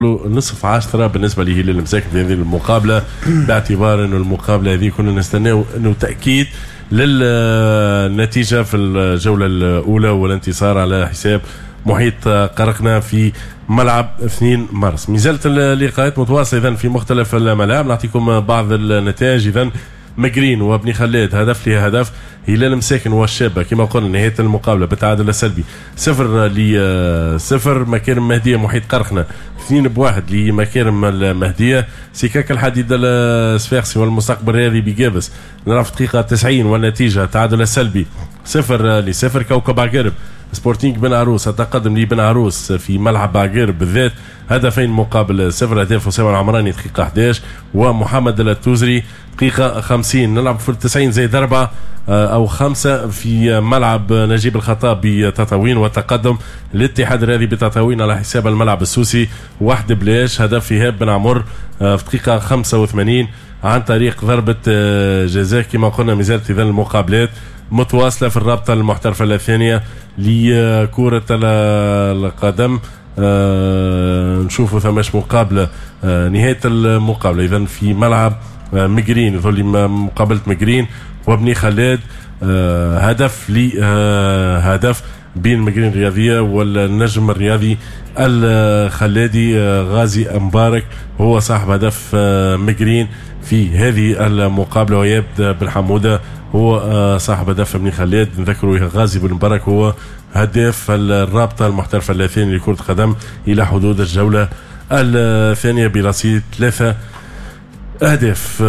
نصف عشرة بالنسبة لهلال المساكن في هذه المقابلة، باعتبار أنه المقابلة هذه كنا نستناو أنه تأكيد للنتيجة في الجولة الأولى والانتصار على حساب محيط قرقنا في ملعب 2 مارس. مازالت اللقاءات متواصلة إذن في مختلف الملاعب، نعطيكم بعض النتائج. إذن مقرين وابني خلاد هدف لهدف، هلال مساكن والشابة كما قلنا نهاية المقابلة بالتعادل السلبي 0-0، مكارم مهدية محيط قرقنة 2-1 لمكارم المهدية، سكاك الحديد الصفاقسي والمستقبل الرياضي بجابس نلعب في دقيقة 90 والنتيجة تعادل السلبي 0-0. كوكب عقارب سبورتينغ بن عروس تقدم لبن عروس في ملعب عقارب بالذات 2-0، هدف أسامة العمراني دقيقة 11 ومحمد التوزري دقيقة 50. نلعب في 90 زائد 4 أو 5 في ملعب نجيب الخطاب بتطاوين، وتقدم الاتحاد الرياضي بتطاوين على حساب الملعب السوسي 1-0، هدف إيهاب بن عمر في دقيقة 85 عن طريق ضربة جزاء. كما قلنا مازالت إذا المقابلات متواصلة في الرابطة المحترفة الثانية لكرة القدم. نشوفوا ثماش مقابلة، نهاية المقابلة إذا في ملعب مقرين، يظل مقابلة مقرين وابني خلاد، هدف لهدف بين مقرين الرياضية والنجم الرياضي الخلادي. غازي مبارك هو صاحب هدف مقرين في هذه المقابلة، ويبدأ بن حمودة هو صاحب هدف ابن خلاد. نذكروا غازي بن مبارك هو هداف الرابطة المحترفة الثانية لكرة القدم إلى حدود الجولة الثانية برصيد 3 أهداف.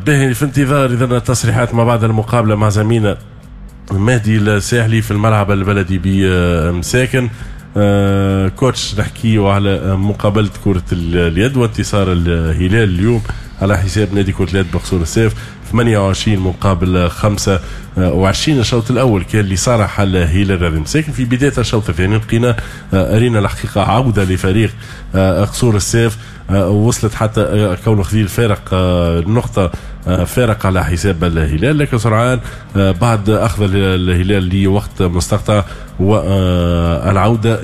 به في انتظار إذن التصريحات ما بعد المقابلة مع زميلنا مهدي الساحلي في الملعب البلدي بمساكن. كوتش، نحكيو على مقابلة كرة اليد وانتصار الهلال اليوم على حساب نادي كرة اليد بقصور السيف 28 مقابل 25. الشوط الأول كان لصالح الهلال الرياضي مساكن. في بداية الشوط الثاني لقينا أرينا الحقيقة عودة لفريق قصور السيف، وصلت حتى كونه خذيل فارق نقطة فارق على حساب الهلال، لكن سرعان بعد أخذ الهلال لوقت مستقطع والعودة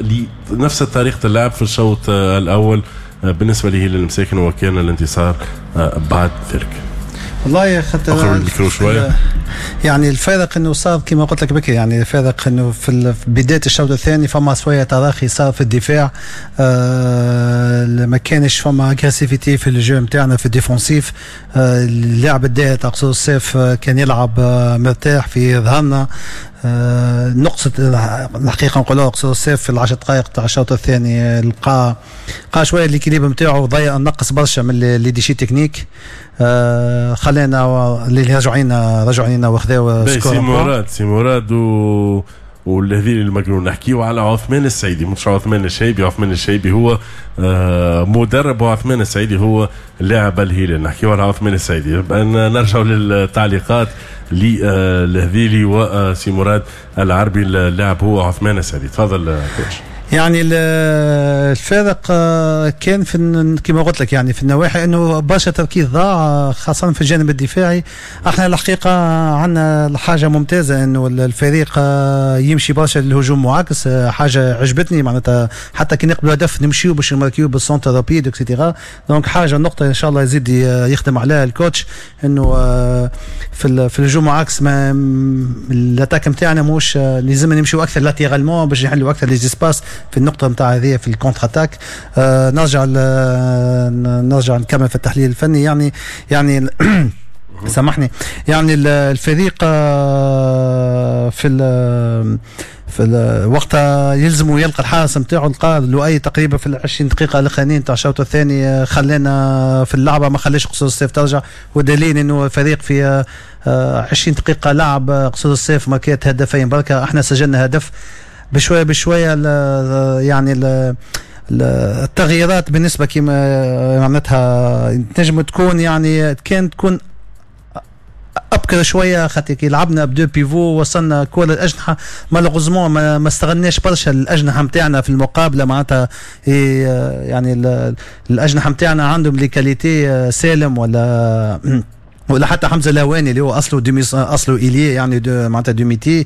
لنفس طريقة اللعب في الشوط الأول بالنسبة لهلال المساكن، وكان الانتصار بعد ذلك. والله يا خاطر الميكرو شوية. يعني الفارق انه صار كما قلت لك بكري، يعني الفارق انه في بداية الشوط الثاني فما شوية تراخي صار في الدفاع، ما كانش فما agressivité في ال jeu نتاعنا في ال défensif. اللاعب الداهي تاع قصور السيف كان يلعب مرتاح في ظهرنا. نقصت الحقيقة نقولوها قصور السيف في العشر دقائق تاع الشوط الثاني لقى شوية l'équilibre نتاعو، ضيع نقص برشا من les déchets techniques. خلينا اللي رجعوا لنا وخذاو score. سي مراد والهذيل المجنون. نحكيو على عثمان السعيدي، مش عثمان الشيبي. عثمان الشيبي هو مدرب وعثمان السعيدي هو لاعب الهلال. نحكيو على عثمان السعيدي. نرجعوا للتعليقات للهذيلي وسي مراد العربي. اللاعب هو عثمان السعيدي. تفضل كوتش. يعني الفارق كان في كما قلت لك يعني في النواحي انه برشا تركيز ضاع خاصة في الجانب الدفاعي. احنا الحقيقة عندنا حاجة ممتازة انه الفريق يمشي برشا للهجوم معاكس، حاجة عجبتني معناتها حتى كي نقبلوا هدف نمشيو باش نماركيو بال centre rapide et cetera. donc حاجة نقطة ان شاء الله يزيد يخدم عليها ال coach انه في الهجوم معاكس ما l'attaque نتاعنا مش لازم نمشيو اكثر latéralement باش نحلوا اكثر les espaces في النقطة نتاع هذه في ال contre-attaque. نرجع نكمل في التحليل الفني. يعني سامحني، يعني الفريق في وقتها يلزموا يلقى الحارس نتاعو، لقى لؤي تقريبا في 20 دقيقة الاخرانيين تاع الشوط الثاني خلانا في اللعبة، ما خلاش قصور السيف ترجع، ودليل انه الفريق في 20 دقيقة لعب قصور السيف ماركات هدفين بركة، احنا سجلنا هدف. بشوية بشوية يعني التغييرات بالنسبة كما معناتها تنجم تكون يعني كان تكون ابكر شوية، خاطر كي لعبنا ب deux pivots وصلنا كره الاجنحة malheureusement ما استغلناش برشا الاجنحة نتاعنا في المقابلة. معناتها يعني الاجنحة نتاعنا عندهم les qualités، سالم ولا ولا حتى حمزة الهواني اللي هو اصله demi، اصله ailier يعني de معناتها de métier،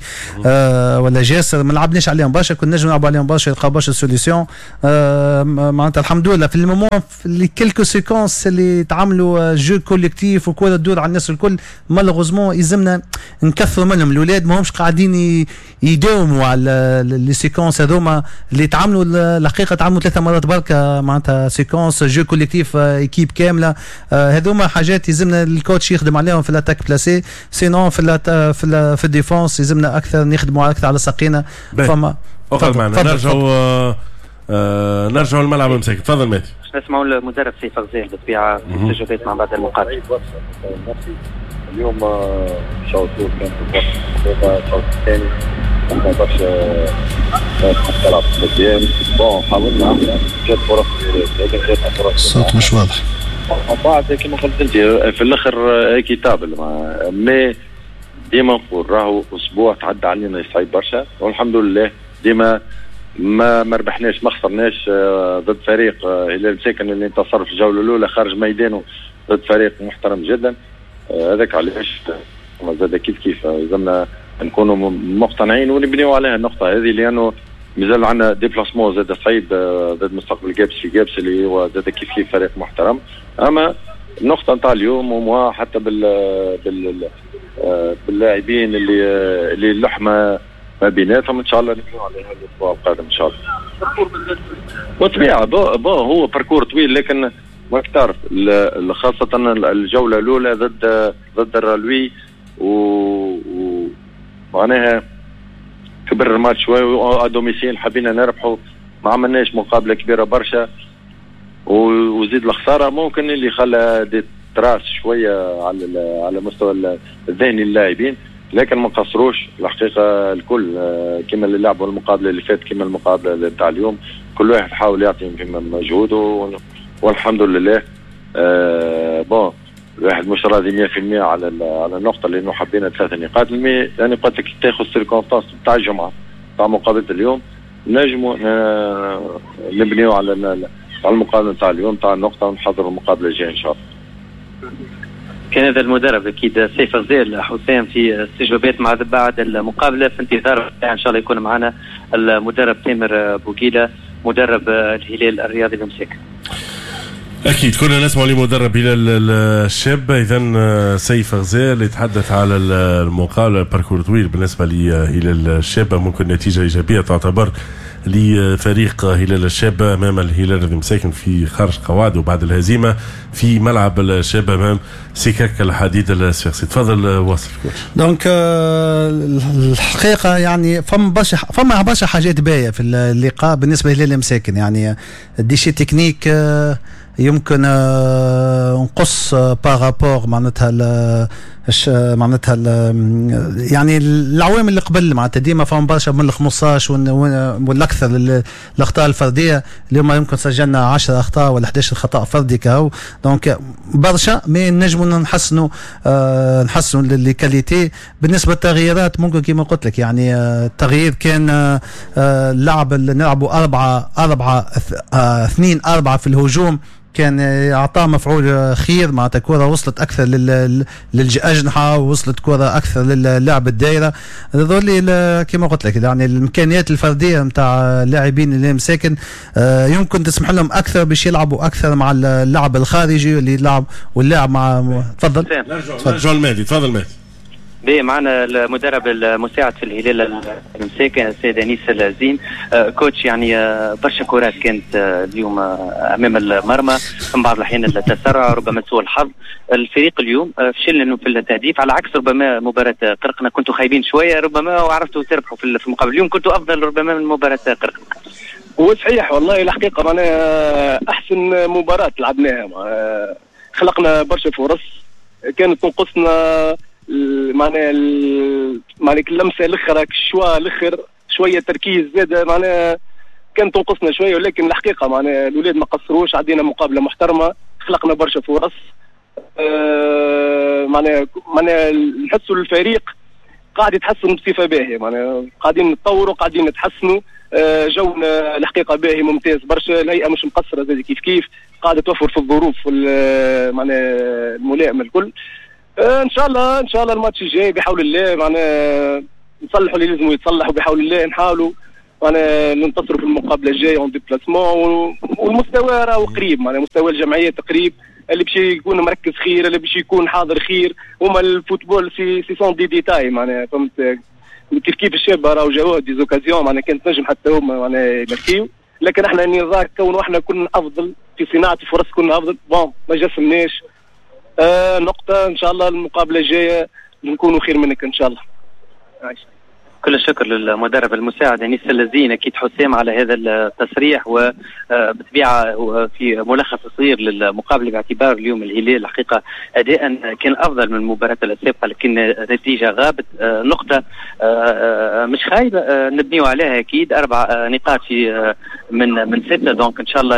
ولا جاسر، ما لعبناش عليهم برشا، كنا نجم نلعبوا عليهم برشا، يلقاو برشا solutions. معناتها الحمد لله في ال moment في les quelques séquences اللي تعملوا jeu collectif وكره تدور على الناس الكل، malheureusement يلزمنا نكثروا منهم. الاولاد ما همش قاعدين يداوموا على les séquences هذوما اللي تعملوا. الحقيقة تعملوا 3 مرات بركة معناتها séquence jeu collectif équipe كامله. هذوما حاجات يلزمنا ال coach يخدم عليهم في l'attaque placée، sinon في ال défense يلزمنا اكثر نخدموا اكثر على ساقينا. فما اقعد معنا، نرجعوا نرجعوا الملعب مساكن. تفضل مهدي. نسمعوا المدرب سيف غزال بالطبيعة في استجوابات مع بعد المقابله. اليوم شوط كان الشوط الثاني عندنا برشا تلعب قدام، bon حاولنا، جات فرص لكن جات فرص. الصوت مش واضح. بعد كما قلت انت في الاخر équitable، mais ديما نقول راهو اسبوع تعدى علينا صعيب برشا، والحمد لله ديما ما ربحناش ما خسرناش ضد فريق هلال مساكن اللي انتصر في الجولة الاولى خارج ميدانه ضد فريق محترم جدا. هذاك علاش زاد كيف كيف لازمنا نكونوا مقتنعين ونبنيو عليها النقطة هذه، لانه مازال عندنا déplacement زاد صعيب ضد مستقبل قابس في قابس اللي هو زاد كيف كيف فريق محترم. اما النقطة نتاع اليوم وموا حتى باللاعبين اللي اللحمة ما بيناتهم، ان شاء الله نبنيو عليها الاسبوع القادم ان شاء الله. وطبيعه bon هو parcours طويل، لكن ما تعرف خاصة الجولة الأولى ضد الرالوي و معناها كبر الماتش شوي à domicile، حبينا نربحوا، ما عملناش مقابلة كبيرة برشا وزيد الخسارة ممكن اللي خلى des traces شوية على مستوى الذهني للاعبين، لكن ما قصروش الحقيقة الكل، كما اللي لعبوا المقابلة اللي فاتت كما المقابلة نتاع اليوم، كل واحد حاول يعطي مجهوده والحمد لله. Bon الواحد مش راضي 100% على النقطه، لانه حبينا 3 نقاط، mais يعني قلت لك تاخذ circonstances تاع الجمعة تاع مقابله اليوم، نجموا نبنيو على المقابلة تاع اليوم تاع النقطة ونحضروا المقابلة الجاية ان شاء الله. كان هذا المدرب اكيد سيف غزال حسام في استجوابات مع بعد المقابله. في انتظار ان شاء الله يكون معنا المدرب تامر بوقيله، مدرب الهلال الرياضي المساكن. اكيد كنا نسمع لمدرب هلال الشابه، اذا سيف غزال يتحدث على المقابله، parcours طويل بالنسبة لهلال الشابه، ممكن نتيجة ايجابية تعتبر لفريق هلال الشابة امام الهلال المساكن في خارج قواعده وبعد الهزيمة في ملعب الشابة امام سكك الحديد الصفاقسي. تفضل واصل. donc الحقيقة يعني فما برشا حاجات باهيه في اللقاء بالنسبة لهلال المساكن، يعني ال déchet technique يمكن نقص par rapport معناتها يعني العوامل اللي قبل، معناتها ديما فما برشا من ال 15 والاكثر الاخطاء الفرديه. اليوم يمكن سجلنا 10 اخطاء ولا 11 خطا فردي كهو، donc برشا، mais نجموا نحسنوا les qualités. بالنسبة للتغييرات ممكن كما قلت لك يعني التغيير كان لعب نلعبوا 4 4 2 4 في الهجوم، كان اعطاه مفعول خير، معناتها كرة وصلت اكثر للاجنحه ووصلت كرة اكثر للعب الدائره. هذول كما قلت لك يعني الامكانيات الفردية نتاع اللاعبين اللي مساكن يمكن تسمح لهم اكثر باش يلعبوا اكثر مع اللعب الخارجي اللي يلعب واللاعب مع تفضل. نرجع المهدي، تفضل مهدي. بي معنا المدرب المساعد في الهلال المساكن السيد انيس الزين. Coach، يعني برشا كرات كانت اليوم امام المرمى، من بعض الاحيان التسرع، ربما سوء الحظ. الفريق اليوم فشل انه في التهديف على عكس ربما مباراة قرقنا، كنتوا خايبين شوية ربما وعرفتوا تربحوا في المقابل. اليوم كنتوا افضل ربما من مباراة قرقنا. هو صحيح والله، الحقيقة معناها احسن مباراة لعبناها، خلقنا برشا فرص، كانت تنقصنا معناها اللمسة الاخرى، ال choix الاخر، شوية تركيز زاد، معناها كانت تنقصنا شويه، ولكن الحقيقة معناها الاولاد ما قصروش، عدينا مقابله محترمه، خلقنا برشا فرص. معناها نحسوا الفريق قاعد يتحسن بصفة باهيه، معناها قاعدين نتطوروا، قاعدين نتحسنوا. جونا الحقيقة باهي ممتاز برشا، الهيئة مش مقصرة زاد كيف كيف، قاعدة توفر في الظروف معناها الملائمة الكل. ان شاء الله ان شاء الله الماتش الجاي بحول الله معناها نصلحوا اللي لازم يتصلح، وبحول الله نحاولوا معناها ننتصروا في المقابلة الجاية en déplacement. والمستوى راهو قريب، معناها مستوى الجمعيات قريب، اللي باش يكون مركز خير، اللي باش يكون حاضر خير. هما ال football ce sont des détails، معناها فهمت كيف كيف. الشابة راهو جاوه des occasions، معناها كانت تنجم حتى هما معناها يماركيو، لكن احنا النظام كون احنا كنا افضل في صناعة الفرص، كنا افضل. bon ما جسمناش نقطه. ان شاء الله المقابلة الجاية نكونوا خير منك ان شاء الله. عايش. كل الشكر للمدرب المساعد انيس اللزين اكيد حسام على هذا التصريح، وبطبيعة في ملخص صغير للمقابله، باعتبار اليوم الهلال الحقيقة اداء كان افضل من المباراة السابقه، لكن النتيجة غابت. نقطة مش خايبه، نبنيو عليها اكيد، 4 نقاط في من 6، donc ان شاء الله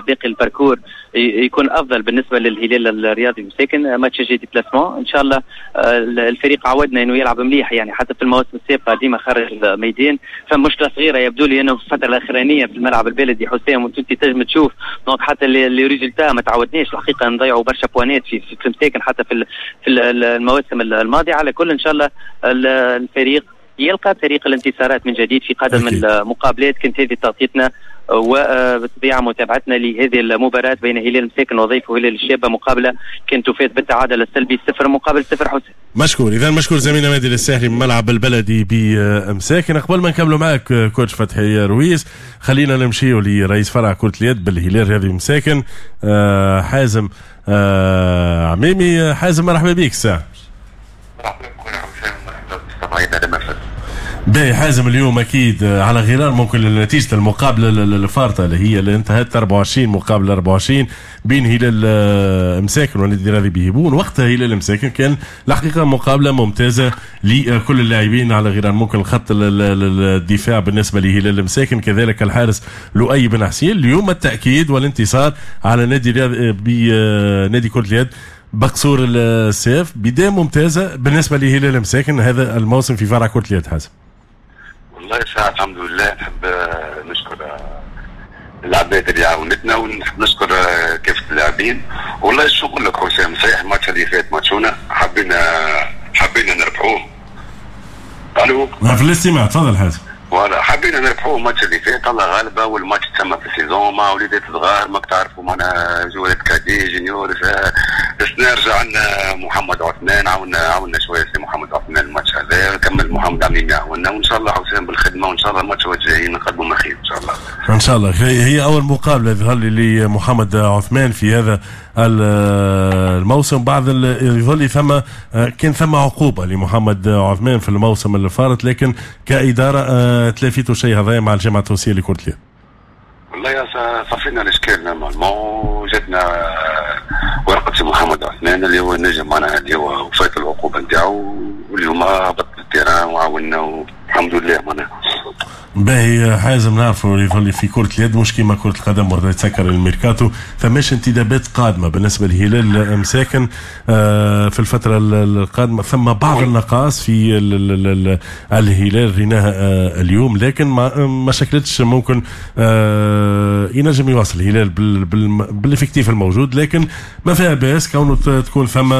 باقي ال parcours يكون افضل بالنسبة للهلال الرياضي مساكن. ماتش جاي déplacement، ان شاء الله الفريق عودنا انه يلعب مليح، يعني حتى في المواسم السابقة ديما خارج الميدان. فمشكله صغيرة يبدو لي انه في الفترة الاخرانية في الملعب البلدي حسام، وانت تنجم تشوف، donc حتى les résultats ما تعودناش الحقيقة نضيعوا برشا points في مساكن حتى في المواسم الماضيه. على كل ان شاء الله الفريق يلقى طريق الانتصارات من جديد في قادم المقابلات. كانت هذه تغطيتنا وبالطبيعه متابعتنا لهذه المباراة بين هلال مساكن وضيفه هلال الشابه، مقابله كانت تفات بالتعادل السلبي 0-0 حسين. مشكور، اذا مشكور زميلنا مهدي الساحلي من ملعب البلدي بمساكن. قبل ما نكملوا معك coach فتحي رويس، خلينا نمشيو لرئيس فرع كرة اليد بالهلال الرياضي مساكن حازم عميمي. حازم، مرحبا بك ساعة. مرحبا بكم مرحبا بالمستمعين. باهي حازم، اليوم اكيد على غرار ممكن نتيجة المقابلة الفارطه اللي هي اللي انتهت 24 مقابل 24 بين هلال مساكن والنادي الرياضي بهبون، وقتها هلال مساكن كان الحقيقة مقابله ممتازة لكل اللاعبين، على غرار ممكن الخط الدفاع بالنسبة لهلال مساكن، كذلك الحارس لؤي بن حسين. اليوم التاكيد والانتصار على نادي الرياضي بنادي كره اليد بقصور الساف، بداية ممتازة بالنسبة لهلال مساكن هذا الموسم في فرع كره اليد حازم. والله ساعة الحمد لله، نحب نشكر العباد اللي عاونتنا ونحب نشكر كافة اللاعبين. والله شو نقول لك حسام، صحيح الماتش اللي فات ماتشونا حبينا نربحوه. الو. في الاستماع، تفضل حازم. voilà، حبينا نربحوه الماتش اللي فات، الله غالبه، والماتش تسمى في ال saison مع وليدات صغار، ماك تعرفوا معنا جوارات cadets juniors. بس نرجع عندنا محمد عثمان، عاونا شوية سي محمد عثمان الماتش هذا، كمل محمد عميمي يعاوننا، وان شاء الله حسام بالخدمه، وان شاء الله الماتش الجايين نقدموا ما خير ان شاء الله. ان شاء الله. هي اول مقابله يظهر لي لمحمد عثمان في هذا الموسم، بعد يظهر لي ثم كان ثم عقوبه لمحمد عثمان في الموسم اللي فات، لكن كادارة تلافيتوا شيء هذا مع الجامعة التونسية لكرة اليد. والله يا صفينا الاشكال normalement، جاتنا ورقة سي محمد عثمان اللي هو النجم معناها اللي هو وفات العقوبة نتاعو، واليوم هبط ال terrain وعاونا والحمد لله معناها. باهي حازم، نعرفوا اللي في كرة اليد مش كيما كرة القدم وقت يتسكر الميركاتو، فماش انتدابات قادمة بالنسبة لهلال مساكن في الفترة القادمة؟ ثم بعض النقائص في الهلال ريناها اليوم، لكن ما شكلتش ممكن ينجم يواصل الهلال بال effectif الموجود، لكن ما فيها باس كونه تكون ثم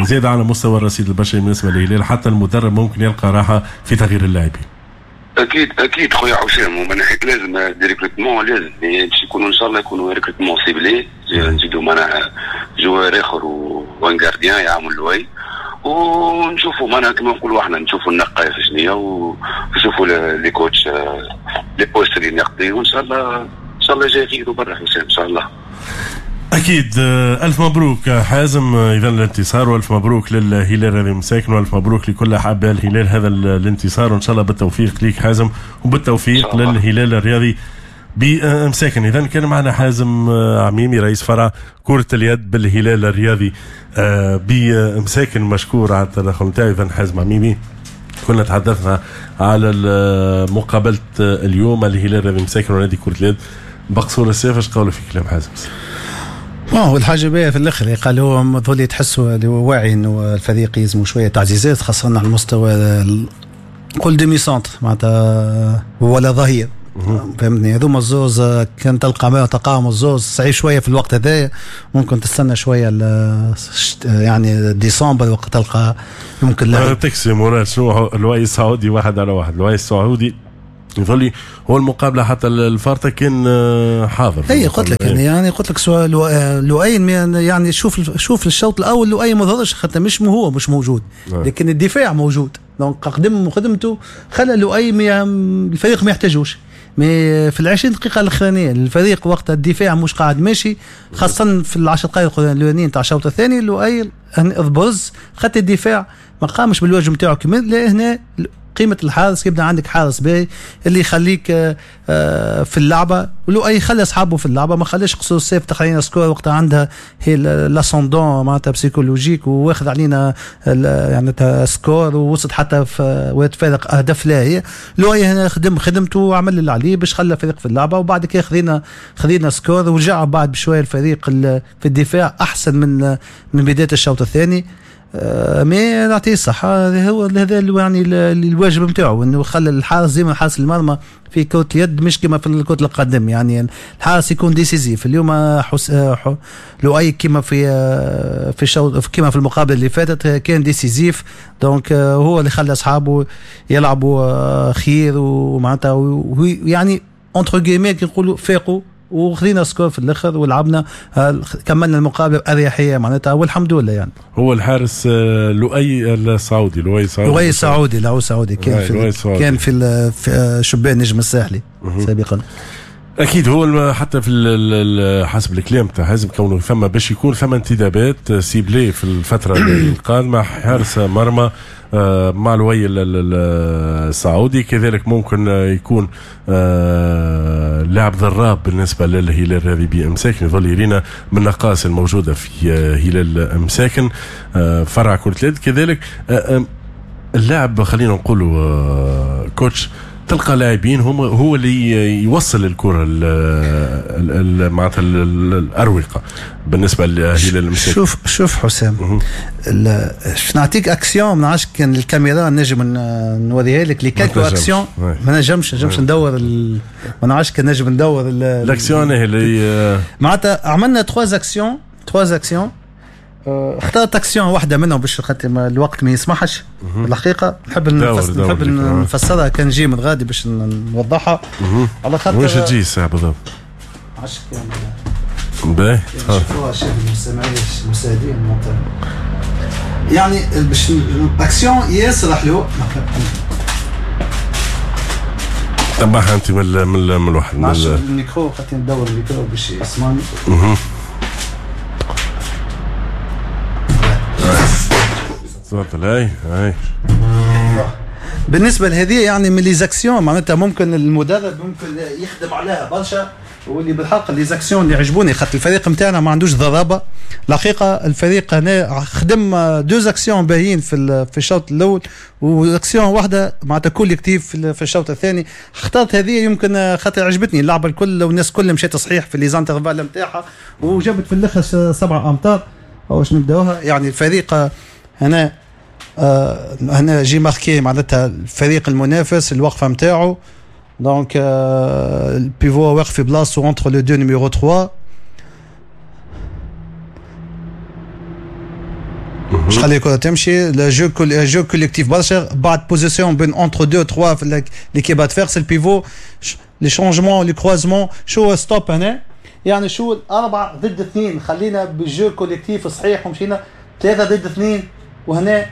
زيادة على مستوى الرصيد البشري بالنسبة للهلال، حتى المدرب ممكن يلقى راحة في تغيير اللاعبين. اكيد اكيد خويا حسام، ومن ناحية لازم des recrutements، لازم باش يكونوا ان شاء الله يكونوا recrutements ciblés، نزيدوا معناها joueur اخر و un gardien يعمل لوي، ونشوفوا معناها كما نقولوا احنا نشوفوا النقائص شنو ونشوفوا les coachs les postes اللي ناقصين، وان شاء الله ان شاء الله جاي خير وبرا حسام ان شاء الله. اكيد، الف مبروك حازم اذا الانتصار، والف مبروك للهلال الرياضي مساكن، والف مبروك لكل احباء الهلال هذا الانتصار، وان شاء الله بالتوفيق ليك حازم وبالتوفيق للهلال الرياضي بمساكن. اذا كان معنا حازم عميمي رئيس فرع كرة اليد بالهلال الرياضي بمساكن، مشكور على التدخل نتاعو. اذا حازم عميمي، كنا تحدثنا على مقابلة اليوم الهلال الرياضي مساكن ونادي كرة اليد بقصور السيف. ايش قولوا في كلام حازم؟ ما هو الحاجة باهية في الآخر قال هو مظل تحسوا اللي هو واعي انه الفريق يلزموا شوية تعزيزات، خاصة على المستوى قول demi-centre معناتها ولا ظهير. فهمتني؟ هذوما الزوز كان تلقى تلقاهم الزوز صعيب شوية في الوقت هذايا، ممكن تستنى شوية يعني ديسمبر وقت تلقى ممكن لا تكسي مراد. شنو لؤي السعودي 1-1، لؤي السعودي يظل هو المقابلة حتى الفارطه كان حاضر. اي قلت لك يعني قلت لك لؤي يعني شوف الشوط الاول لؤي ما ظهرش خاطر مش هو مش موجود، لكن الدفاع موجود، donc قدم خدمته خلى لؤي الفريق ما يحتاجوش. mais في 20 دقيقة الاخرانية الفريق وقت الدفاع مش قاعد ماشي، خاصة في 10 دقائق الاولانيين تاع الشوط الثاني لؤي برز خاطر الدفاع ما قامش بالواجب نتاعو كما هنا. قيمة الحارس يبدا عندك حارس باهي اللي يخليك في اللعبة، ولؤي خلى اصحابه في اللعبة، ما خلاش قصور السيف تخلينا score وقتها عندها هي l'ascendant معناتها psychologique وواخذ علينا يعني score ووصلت حتى في وقت فارق اهداف لا هي. لؤي هنا خدم خدمته وعمل اللي عليه باش خلى الفريق في اللعبة، وبعد كده خذينا score ورجع بعد بشوية الفريق في الدفاع احسن من بداية الشوط الثاني. mais نعطيه الصحة، هو هذا يعني الواجب نتاعو انه خلى الحارس ديما حارس المرمى في كرة اليد مش كما في كرة القدم، يعني الحارس يكون décisif. اليوم لؤي كما في الشوط كما في المقابلة اللي فاتت كان décisif، donc هو اللي خلى اصحابه يلعبوا خير ومعناتها يعني entre guillemets كي نقولوا فاقوا وخذينا score في الاخر ولعبنا كملنا المقابلة باريحية معناتها والحمد لله. يعني هو الحارس لؤي السعودي، لؤي السعودي، لؤي السعودي، لؤي السعودي كان في شبان نجم الساحلي سابقا. اكيد هو حتى في حسب الكلام تاع حزب كونه ثم باش يكون ثم انتدابات ciblées في الفترة القادمة، حارس مرمى مع لؤي السعودي، كذلك ممكن يكون لاعب ضراب بالنسبة للهلال الرياضي بامساكن. يظل يرينا من النقائص الموجودة في هلال مساكن فرع كره اليد. كذلك اللاعب خلينا نقولوا coach تلقى لاعبين هم هو اللي يوصل الكره معناتها الاروقه بالنسبة لهلال المساكن. شوف حسام، نعطيك اكسيون ما نعرفش كان الكاميرا نجم نوريها لك les quelques actions، ما نجمش ندور ما نعرفش كان نجم ندور الاكسيون اللي معناتها عملنا 3 actions اخترت اكسيون واحدة منهم باش خاطر الوقت ما يسمحش. الحقيقة نحب نفسرها كان نجي من غادي باش نوضحها على خاطر واش تجي الساعة بالضبط؟ عشان كان باهي شوفوها شاف المستمعين المشاهدين يعني باش اكسيون ياسر حلو تبعها انت من الواحد من الميكرو خاطر ندور الميكرو باش يسمعني. تفضل. هاي هاي بالنسبة لهذه يعني من les actions معناتها ممكن المدرب ممكن يخدم عليها برشا، واللي بالحق les actions اللي عجبوني خاطر الفريق نتاعنا ما عندوش ضرابه الحقيقة. الفريق هنا خدم deux actions باهيين في الشوط الاول واكسيون واحدة معناتها collective في الشوط الثاني. اخترت هذه يمكن خاطر عجبتني اللعبة الكل والناس الكل مشات صحيح في les intervalles نتاعها وجابت في الاخر 7 امتار. واش نبداوها يعني الفريق هنا هنا j'ai marqué معناتها الفريق المنافس الوقفة نتاعو، donc ال pivot واقف في بلاصتو entre les deux numéro 3 باش خلي الكره تمشي. le jeu collectif برشا بعد position بين entre 2 3 في l'équipe adverse ال pivot les changements les croisements شو stop هنا يعني شو 4 ضد 2 خلينا بال jeu collectif صحيح ومشينا 3 ضد 2. وهنا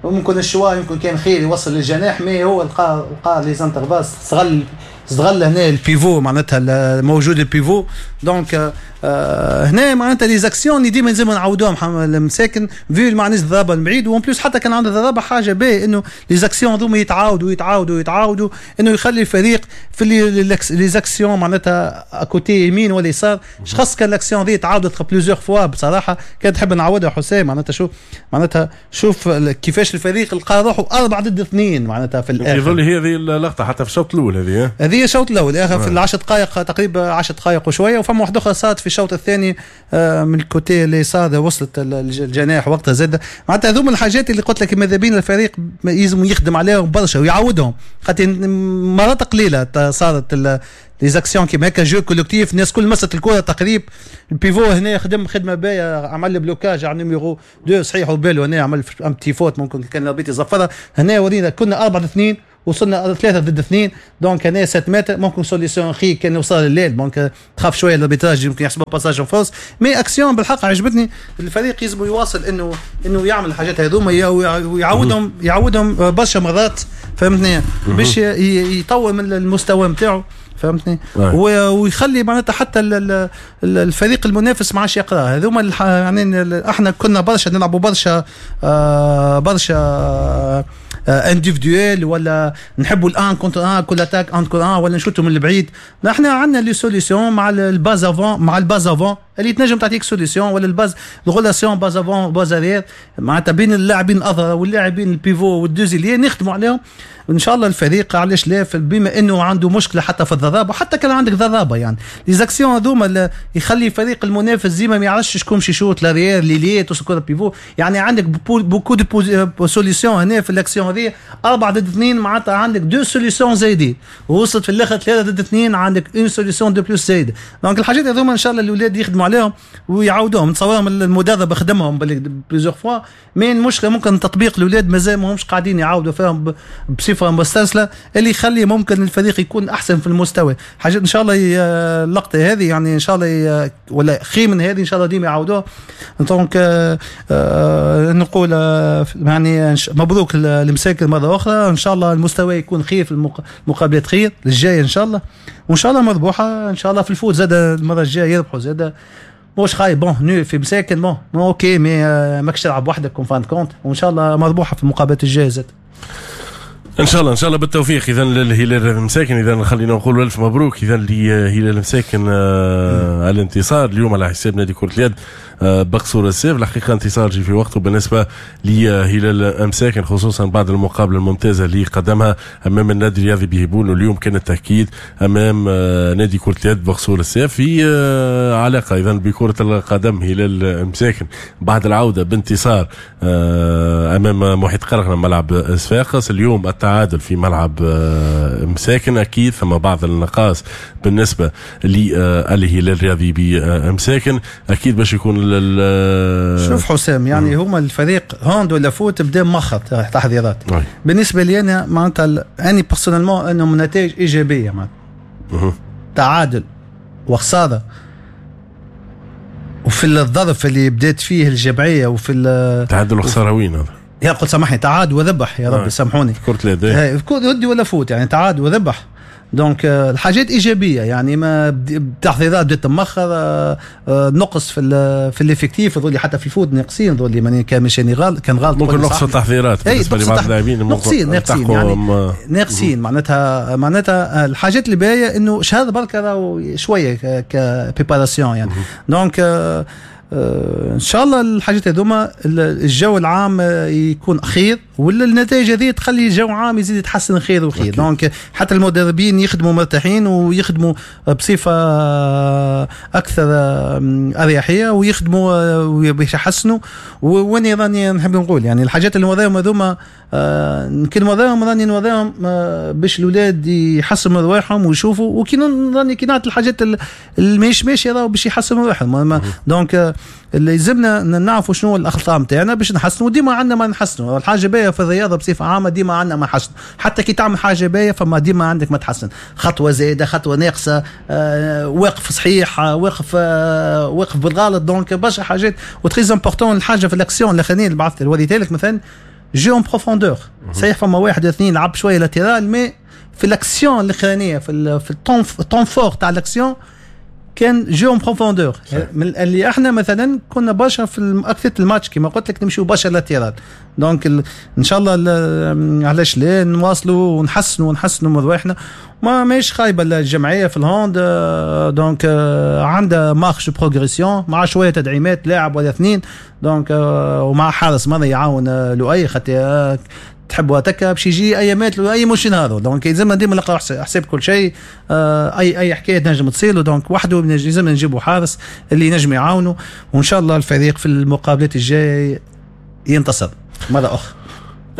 ممكن ال choix يمكن كان خير يوصل للجناح mais هو لقى les intervalles استغل هنا ال pivot معناتها موجود ال pivot. donc هنا معناتها les actions اللي ديما لازم نعاودوهم المساكن vu ما عندناش ضربه من بعيد، و en plus حتى كان عندنا ضربه حاجة باهيه انه les actions هذوما يتعاودوا يتعاودوا يتعاودوا انه يخلي الفريق في les actions معناتها côté يمين ولا يسار. خاص كان الاكسيون ذي تعاودت plusieurs fois بصراحة كان تحب نعاودها حسام معناتها شوف معناتها شوف كيفاش الفريق لقى روحه 4 ضد 2 معناتها في الاخر. يظل هي هذه اللقطة حتى في الشوط الاول هذه هذه الشوط الاول اخر في ال10 دقائق تقريبا، 10 دقائق وشويه. وفما واحدة اخرى صارت في الشوط الثاني من ال côté اليسار، وصلت الجناح وقتها زاد. معناتها هذوما الحاجات اللي قلت لك ماذا بين الفريق يلزم يخدم عليهم برشا ويعودهم، خاطر مرات قليله صارت les actions كيما هكا، jeu collectif، الناس كل مست الكره تقريب. ال pivot هنا خدم خدمة باهيه، عمل blocage على numéro 2 صحيح، وبالو هنا عمل un petit faute، ممكن كان l'arbitre يصفرها. هنا ورينا كنا 4-2، وصلنا 3 ضد 2، donc هنا 7 متر ممكن solution خي كان وصل الليل، donc تخاف شوية l'arbitrage يمكن يحسبوا passage en force، mais action بالحق عجبتني. الفريق يلزم يواصل انه يعمل الحاجات هذوما ويعودهم، يعودهم برشا مرات، فهمتني، باش يطور من المستوى نتاعو، فهمتني، ويخلي معناتها حتى الفريق المنافس ما عادش يقرا هذوما. يعني احنا كنا برشا نلعبوا برشا برشا individuel، ولا نحبوا ال un contre un، كل attaque un contre un، ولا نشوتوا من البعيد. احنا عندنا les solutions مع ال base avant، مع ال base avant اللي تنجم تعطيك solution، ولا ال base، ال relation base avant base arrière، معناتها بين اللاعبين الاظهرة واللاعبين ال pivot وال deux ailiers، نخدموا عليهم. ان شاء الله الفريق علاش لا، بما انه عنده مشكلة حتى في الضرابه، وحتى كان عندك ضرابه، يعني les actions هذوما يخلي الفريق المنافس ديما ما يعرفش شكون باش يشوت، l'arrière، l'ailier، توصل كره pivot. يعني عندك beaucoup de solutions هنا في الاكسيون هذه 4 ضد 2، معناتها عندك deux solutions زايدين. ووصلت في الاخر 3 ضد 2، عندك une solution de plus زايده. donc الحاجات هذوما ان شاء الله الاولاد يخدموا عليهم ويعاودوهم. نتصورهم المدرب خدمهم plusieurs fois، mais المشكلة ممكن تطبيق، الاولاد مازال ماهمش قاعدين يعاودوا فيهم بصفة مسترسله اللي يخلي ممكن الفريق يكون احسن في المستوى. حاجات ان شاء الله اللقطة هذه يعني ان شاء الله ولا خير من هذه ان شاء الله ديما يعاودوها. donc نقول يعني مبروك المساكن مرة اخرى. ان شاء الله المستوى يكون خير في المقابلات، خير الجاية ان شاء الله، وان شاء الله مربوحه ان شاء الله في ال foot زاد المرة الجاية يربحوا زاد. مش خايب، bon nul في مساكن، bon OK، mais ماكش تلعب وحدك en fin de compte، وان شاء الله مربوحه في المقابلات الجاية زاد. ان شاء الله، ان شاء الله بالتوفيق اذا للهلال المساكن. اذا خلينا نقول الف مبروك اذا لهلال المساكن الانتصار اليوم على حساب نادي كره اليد بقصور الساف. الحقيقة انتصار جي في وقته بالنسبة لهلال مساكن، خصوصا بعد المقابلة الممتازة اللي قدمها امام النادي الرياضي بهبون، واليوم كان التاكيد امام نادي كره اليد بقصور الساف. في علاقة اذا بكره القدم، هلال مساكن بعد العودة بانتصار امام محيط قرقنة ملعب صفاقس، اليوم التعادل في ملعب مساكن. اكيد ثم بعض النقائص بالنسبة للهلال الرياضي بمساكن، اكيد باش يكون. شوف حسام، يعني هما الفريق hand ولا foot بدا مخر تحضيرات. بالنسبة لي انا معناتها اني personnellement انهم نتائج ايجابيه، معناتها تعادل وخسارة وفي الظرف اللي بدات فيه الجمعية وفي تعادل وخسارة وين هذا؟ يا قلت سامحني، تعادل وربح، يا ربي سامحوني. كرة اليد. كرة يدي ولا foot، يعني تعادل وربح، donc الحاجات ايجابيه. يعني ما التحضيرات بدات تمخر، نقص في l'effectif ذولي، حتى في ال foot ناقصين ذولي، ماني كان مش غلط، كان غلط. ممكن نقص التحضيرات بالنسبة لبعض اللاعبين. ناقصين ناقصين، يعني ناقصين. معناتها الحاجات اللي باهيه انه شهر بركة شوية ك préparation يعني. donc ان شاء الله الحاجات هذوما الجو العام يكون خير، ولا النتائج هذه تخلي الجو العام يزيد يتحسن خير وخير. donc حتى المدربين يخدموا مرتاحين ويخدموا بصفة اكثر اريحية ويخدموا باش يحسنوا. واني راني نحب نقول يعني الحاجات اللي نوريهم هذوما كي نوريهم راني نوريهم باش الاولاد يحسنوا من رواحهم ويشوفوا، وكي راني كي نعطي الحاجات اللي ماهيش ماشية راهو باش يحسنوا من رواحهم. donc اللي يلزمنا نعرفوا شنو الاخطاء نتاعنا باش نحسنوا. ديما عندنا ما نحسنوا. الحاجة باهيه في الرياضة بصفة عامه، ديما عندنا ما نحسنوا. حتى كي تعمل حاجة باهيه فما ديما عندك ما تحسن، خطوة زايده، خطوة ناقصه، واقف صحيح، واقف بالغلط. donc برشا حاجات، و très important الحاجة في الاكسيون الاخرانية اللي بعثت وريتها لك مثلا، jeu en profondeur. صحيح فما واحد اثنين لعب شوية latéral، mais في الاكسيون الاخرانيه، في ال temps fort تاع الاكسيون كان jeu en profondeur. من اللي احنا مثلا كنا برشا في اكثر الماتش كما قلت لك نمشيو برشا latéral. donc ان شاء الله علاش لا نواصلوا ونحسنوا ونحسنوا من رواحنا. ما ماهيش خايبة الجمعية في ال hand، donc عندها marge progression مع شوية تدعيمات، لاعب ولا اثنين، donc ومع حارس مرمى يعاون لؤي، خاطر تحبوا هتكا باش يجي ايامات اي مش نهارو، donc يلزمنا ديما نلقاو حساب كل شيء، اي حكاية تنجم تصير، donc وحده لازم نجيبوا حارس اللي ينجم يعاونه، وان شاء الله الفريق في المقابلات الجاية ينتصر مرة اخرى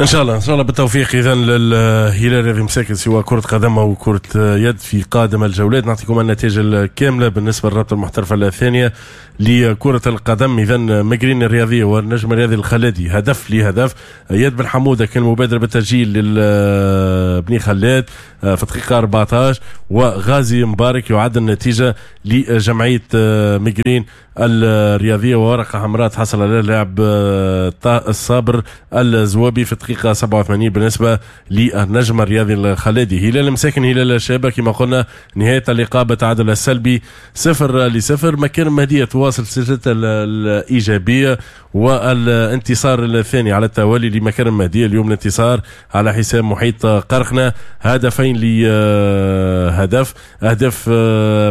ان شاء الله. ان شاء الله بالتوفيق اذا للهلال الرياضي مساكن سواء كره قدم او كره يد في قادم الجولات. نعطيكم النتائج الكاملة بالنسبة للرابطة المحترفه الثانية لكرة القدم. اذا مقرين الرياضية والنجم الرياضي الخلادي هدف لهدف. يد بن حموده كان مبادرة بالتسجيل لبني خلاد في دقيقة 14، وغازي مبارك يعد النتيجة لجمعية مقرين الرياضية. وورقة حمراء تحصل على اللاعب الصابر الزوابي في دقيقة 87 بالنسبة للنجم الرياضي الخلادي. هلال مساكن هلال الشابة كما قلنا نهاية اللقاء بالتعادل السلبي 0-0. مكان مهدية تواصل سلسلة الإيجابية والانتصار الثاني على التوالي لمكان المهدية. اليوم الانتصار على حساب محيط قرخنة 2 لهدف. أهداف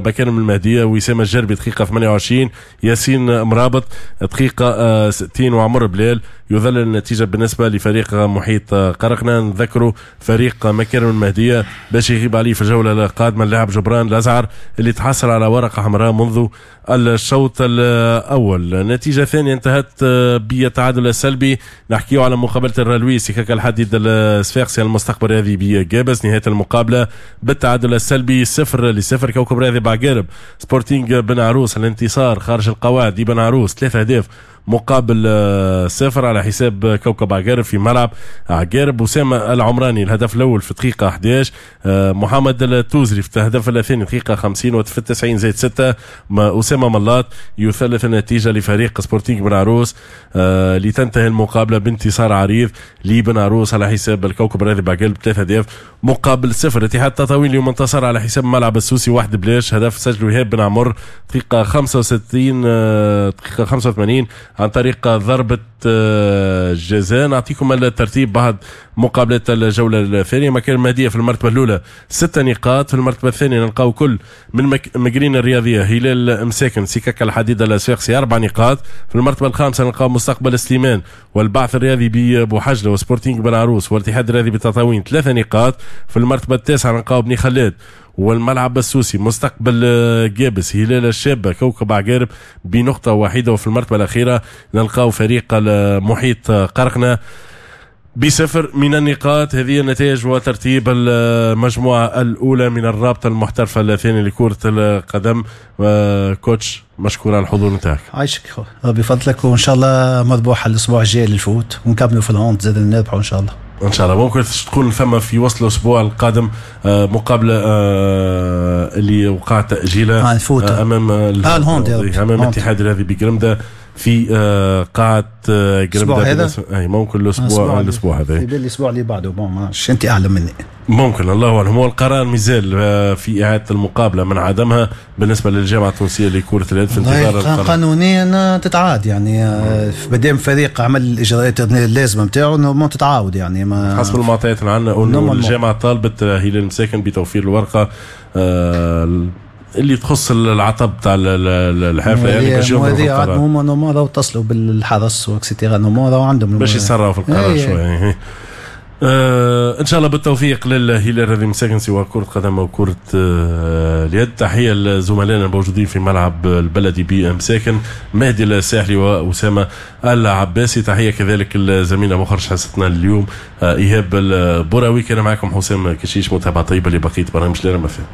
مكان المهدية وسام الجربي دقيقة 28، ياسين مرابط دقيقة 60، وعمر بلال يظل النتيجة بالنسبة لفريق محيط قرقنا. نذكروا فريق مكارم المهدية باش يغيب عليه في الجولة القادمة اللاعب جبران الأزعر اللي تحصل على ورقة حمراء منذ الشوط الأول. نتيجة ثانية انتهت بالتعادل السلبي. نحكيه على مقابلة الرالوي سكاكا الحديد الصفاقسي المستقبل الرياضي بجابس. نهاية المقابلة بالتعادل السلبي 0-0. كوكب رياضي بعقارب سبورتينغ بن عروس الانتصار خارج القواعد بن عروس 3 أهداف مقابل 0 على حساب كوكب عقارب في ملعب عقارب. أسامة العمراني الهدف الأول في دقيقة 11، محمد التوزري في الهدف الثاني دقيقة 50 وفي 90 زائد 6 أسامة ملاط يثلث النتيجة لفريق سبورتينغ بن عروس لتنتهي المقابلة بانتصار عريض لبن عروس على حساب الكوكب الرياضي بعقارب 3 أهداف مقابل 0. اتحاد تطاوين اليوم انتصر على حساب ملعب السوسي 1-0، هدف سجله إيهاب بن عمر دقيقة 65 دقيقة 85 عن طريق ضربة جزاء. نعطيكم الترتيب بعد مقابلة الجولة الثانية. مكان المهدية في المرتبة الأولى 6 نقاط، في المرتبة الثانية نلقاو كل من مقرين الرياضية هلال مساكن سكك الحديد الصفاقسي 4 نقاط، في المرتبة الخامسة نلقاو مستقبل سليمان والبعث الرياضي ببوحجلة وسبورتينغ بن عروس والاتحاد الرياضي بتطاوين 3 نقاط، في المرتبة التاسعة نلقاو بني خلاد والملعب السوسي مستقبل جابس هلال الشابة كوكب عقارب بنقطة واحدة، وفي المرتبة الأخيرة نلقاو فريق المحيط قرقنة ب0 من النقاط. هذه النتائج وترتيب المجموعة الأولى من الرابطة المحترفة الثانية لكرة القدم. coach مشكور على الحضور نتاعك. عايشك ربي يفضلك، وإن شاء الله مربوحة الأسبوع الجاي للفوت ونكملوا في ال hand زاد نربحوا إن شاء الله. ان شاء الله ممكن تكون ثم في وصل الاسبوع القادم مقابله اللي وقع تاجيلها امام ال hand امام الاتحاد الرياضي بقرمده في قاعة قرمده هذا؟ اي ممكن الاسبوع هذا في بالي الاسبوع اللي بعده، bon ما انت اعلم مني، ممكن الله اعلم. هو القرار مازال في اعاده المقابلة من عدمها بالنسبة للجامعة التونسية لكرة اليد في انتظار القرار. قانونيا تتعاد يعني مادام فريق عمل الاجراءات اللازمة نتاعو normalement تتعاود يعني ما حسب المعطيات اللي عندنا انه الجامعة طالبت هلال المساكن بتوفير الورقة اللي تخص العطب تاع الحافلة يعني باش يضربوا القرار. هما normalement راهو اتصلوا بالحرس و et cetera normalement راهو عندهم باش يسرعوا في القرار شوية. ان شاء الله بالتوفيق للهلال الرياضي مساكن سواء كرة قدم او كرة اليد. تحية لزملائنا الموجودين في ملعب البلدي بمساكن مهدي الساحلي وأسامة العباسي. تحية كذلك لزميلنا مخرج حصتنا اليوم إيهاب البراوي. كان معكم حسام كشيش، متابعة طيبة لبقية برامج لنا مثلا.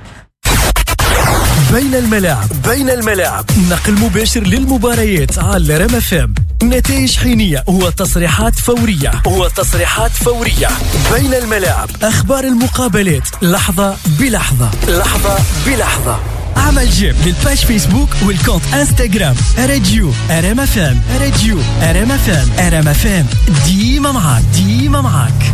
بين الملاعب، بين الملاعب، نقل مباشر للمباريات على رام FM، نتائج حينية وتصريحات فورية، وتصريحات فورية. بين الملاعب، أخبار المقابلات لحظة بلحظة، لحظة بلحظة. عمل j'aime لل page فيسبوك وال compte انستغرام راديو رام FM، راديو رام FM، رام FM ديما معاك، ديما معاك.